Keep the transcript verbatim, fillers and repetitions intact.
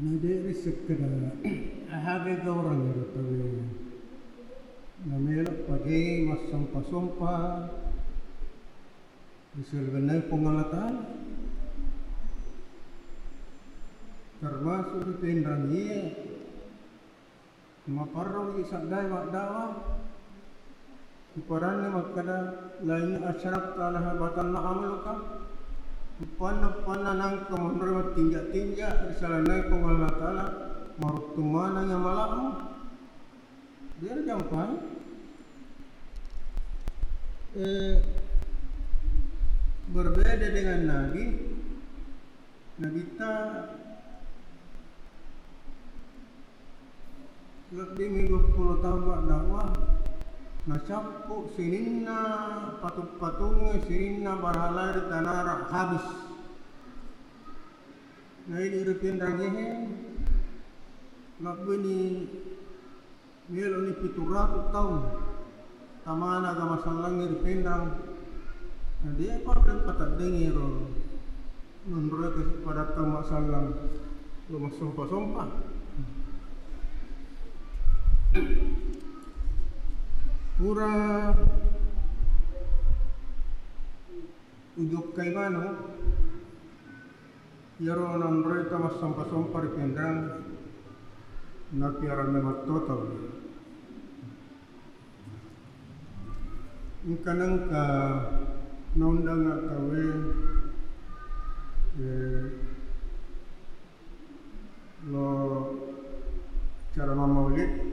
Na de' risekkeda aga gaurang ero tauwe namelo pake massompa-sompa ri saliwenna Puang Allah Ta'ala. Termasuk ri Pinrang iye maparro ri saddae madda'wah. Ipadanna makkeda, "La in asyrakta la yahbatanna amaluka." Uppanna, uppanna nangka monro mattinja-tinja ri saliwenna Puang Allah Ta'ala, maruttung maneng amala'mu. Biar jampai. Eh, berbeda dengan Nabi, Nabitta lebbi mi duappulo taung madda'wah, nacappu sininna patung-patungnge, sininna barhalae ri tanara habis. Na idi ri Pinrang ehe, lebbini Meloni pitu ratu taung tamana agama sallangnge ri Pinrang. Na de' pa pateddengi ro nonroe ke pada tau masallang lo massompa-sompa. Pura ujokkai maneng. Iyaro nanroi tau massompa-sompa ri Pinrang, napiara memetto tau. Engka nengka naundangnga tauwe, eh, lo cara mammaulid,